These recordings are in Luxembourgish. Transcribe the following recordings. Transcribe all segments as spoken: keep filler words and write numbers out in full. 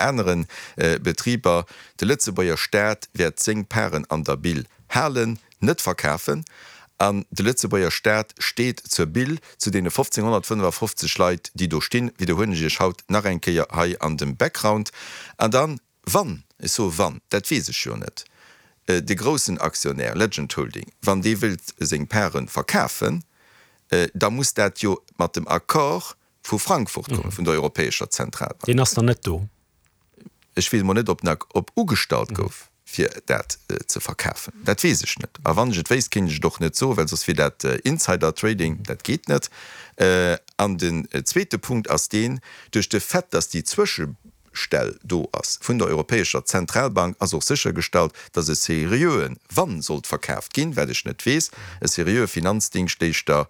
anere Betriber. De Lëtzebuerger Staat wäert seng Parten an der Bil halen, net verkafen. An de Lëtzebuerger Staat steet zur Bil, zu deene fofzénghonnertfënnefafofzeg Leit, déi do stinn, widderhuelen ech Iech haut nach eng Kéier hei an dem Background. An dann, wann, ech soe wann, dat weess ech jo net, de groussen Aktionär Legend Holding, wann dee wëllt seng Parten verkafen, da muss dat jo mat dem Accord vu Frankfurt kommen, vun der Europäescher Zentralbank. Deen ass nach net do. Ech weess emol net, ob en op ugestallt gouf, fir dat ze verkafen. Dat weess ech net. A wann ech et wéisst, kéint ech et och net soen, well soss wier dat Insider Trading. Dat geet net. An den zweete Punkt ass deen, Duerch de Fait, dass déi Zwëschestell do ass vun der Europäescher Zentralbank, ass och séchergestallt, dass e seriöen, wann sollt verkaaft ginn, wat ech net weess, e seriöe Finanzdingschtleeschter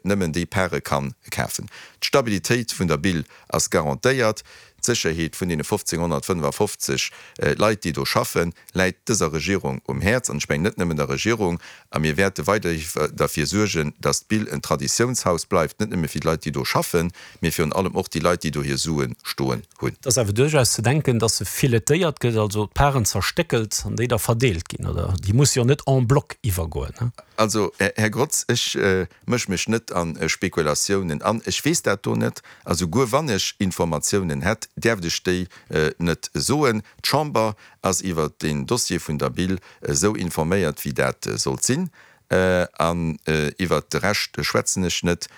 nëmmen déi Pare ka kafen. D'Stabilitéit vun der Bil ass garantéiert. D'Sécherheet vun deene fofzénghonnertfënnefafofzeg Leit, déi do schaffen, läit dëser Regierung um Häerz, an ech mengen net nëmmen der Regierung. A mir wäerte weiderhi derfir suergen, datt d'Bill en Traditiounshaus bleift, net nëmme fir d'Leit, déi do schaffen, mee virun allem och déi Leit, déi do hir Sue stoen hunn. Et ass awer duerchaus ze denken, datt se filetéiert gëtt, also d'Paren zerstéckelt an déi da verdeelt ginn, oder? Déi muss jo net en bloc iwwergoen, ne? Also, Här Grotz, ech mësch mech net a Spekulatiounen an. Ech weess dat do net. A souguer wann ech Informatiounen hätt, däerft ech déi net soen. D'Chamber ass iwwert deen Dossier vun der Bil esou informéiert, wéi dat sollt sinn. An iwwert de Rescht schwätzen ech net.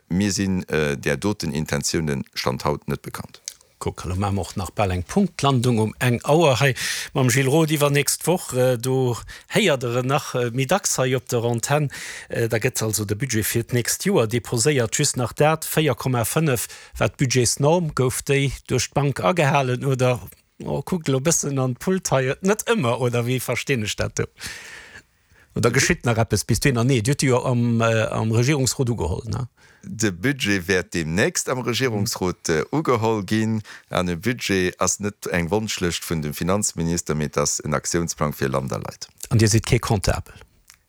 Mir sinn där doten Intentiounen Stand haut net bekannt. Kuck, elo maache mer och nach bal eng Punktlandung um eng Auer hei mam Gilles Roth. Iwwernächst Woch, do héiert Der en nach méi dacks hei op der Antenn. Da gëtt also de Budget fir d'nächst Joer deposéiert. Just nach dat, véier Komma fënnef war d'Budgetsnorm. Gouf déi duerch d'Bank agehalen oder, oh, kuckt elo e bëssen an d'Pult hei, net ëmmer, oder wéi verstinn ech dat do? Oder geschitt nach eppes bis dohinner? Nee, Dir hutt déi jo am, am Regierungsrot ugeholl, ne? De Budget wäert deemnächst am Regierungsrot ugeholl ginn. An e Budget ass net eng Wonschlëscht vun dem Finanzminister, mee et ass en Aktiounsplang fir Land a Leit. An Dir sidd kee Comptabel?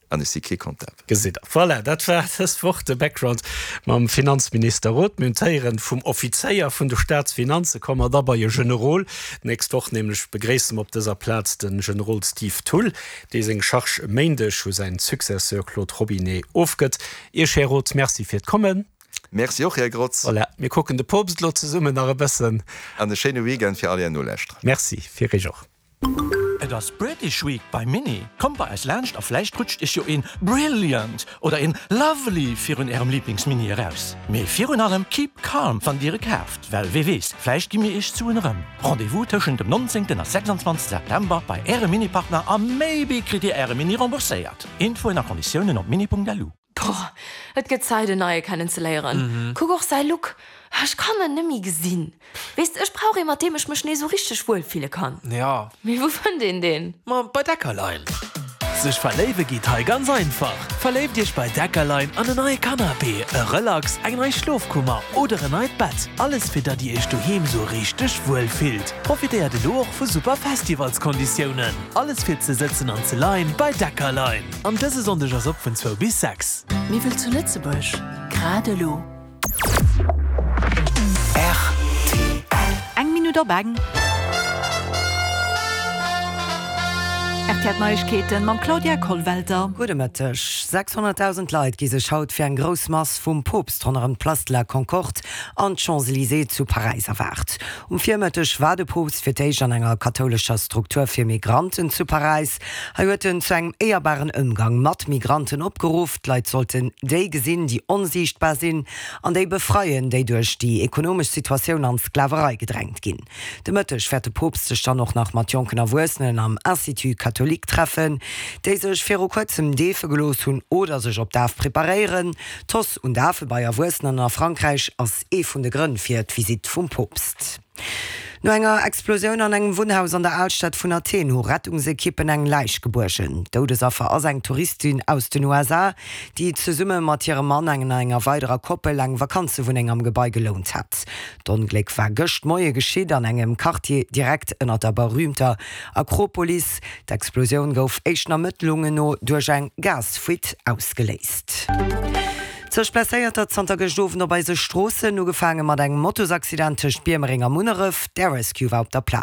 An ech si kee Comptabel. Gesitt Der. Voilà, dat war dës Woch de Background mam Finanzminister Roth. Mir hunn d'Héieren vum Offizéier vun de Staatsfinanze. Komme mer da bei e Generol. D'nächst Woch nämlech begréisse mer op dëser Plaz de Generol Steve Thull, dee seng Charge e Méindeg u säin Successeur Claude Robinet ofgëtt. Iech, Här Roth, Merci fir d'Kommen. Merci och, Här Grotz. Voilà, mir kucken de Poopst elo zesummen nach e bëssen. An e schéine Weekend fir all Är Nolauschterer. Merci, fir Iech och. Et ass British Week bei Mini! Kommt bei eis laanscht a vläicht rutscht iech jo een Brilliant oder een Lovely virun ärem Lieblingsmini eraus. Mee virun allem keep calm wann dir e kaaft, well wee weess, vläicht gi mir iech d'Suen erëm. Rendez-vous tëschent dem nonzéngten a sechsundzwanzegste September bei ärem Mini-Partner a maybe kritt dir äre Mini rembourséiert. Infoen a Konditiounen op mini.lu. Boah, et gëtt Zäit en neie kennen ze léieren. Kuck och säi Look, ech kann en nemmi gesinn. Weess de, ech brauch ee mat deem ech mech nees sou richteg wuel fille kann. Ja. Mee wou fënnt een deen? Ma bei Deckerlein. Sech verléiwe geet hei ganz einfach. Verléift iech bei Deckerlein an en neie Canapé, e Relax, eng nei Schlofkummer oder en neit Bett. Alles fir datt dir iech doheem sou richteg wuel fillt. Profitéiert elo och vu super Festivalskonditiounen. Alles fir ze sëtzen an ze leien bei Deckerlein. An dëse Sonndeg ass op vun zwou bis sechs. Miwwel zu Lëtzebuerg, grad elo. Rtl. Eng Minutt op eng. Rtl Neiegkeeten mam Claudia Kollwelter. Gudde Mëtteg. sechshonnertdausend Leit gi sech haut fir eng grouss Mass vum Poopst ronderëm d'Place de la Concorde an d'Champs-Elysées zu Paräis erwaart. Um Virmëtteg war de Poopst fir d'éischt an enger kathoulescher Struktur fir Migranten zu Paräis. Hei huet en zu engem éierbaren Ëmgang mat Migranten opgeruff. D'Leit sollten déi gesinn, déi onsiichtbar sinn, an déi befreien, déi duerch déi ekonomesch Situatioun an d'Sklaverei gedrängt ginn. De Mëtteg wäert de Poopst sech dann och nach mat jonken Erwuessenen am Institut catholique treffen, déi sech viru kuerzem deefe gelooss hunn oder sech op d'Daf preparéieren. D'Hausse un Dafe bei Erwuessenen a Frankräich ass ee vun de Grënn fir d'Visitt vum Poopst. No enger Explosioun an engem Wunnhaus an der Alstad vun Athen hu Rettungsekippen eng Läich gebuergen. Doudesaffer ass eng Touristin aus den U S A, déi zesumme mat hirem Mann an enger weiderer Koppel eng Vakanzewunneng am Gebai gelount hat. D'Ongléck war gëscht Moie geschitt an engem Quartier direkt ënner der berüümter Akropolis. D'Explosioun gouf éischten Ermëttlungen no duerch eng Gasfuite ausgeléist. Zeg Blesséierter zanter gëscht Owend op eise Stroossen, ugefaange mat engem Motosaccident tëscht Biermereng a Munneref. D'Air Rescue war op der Plaz.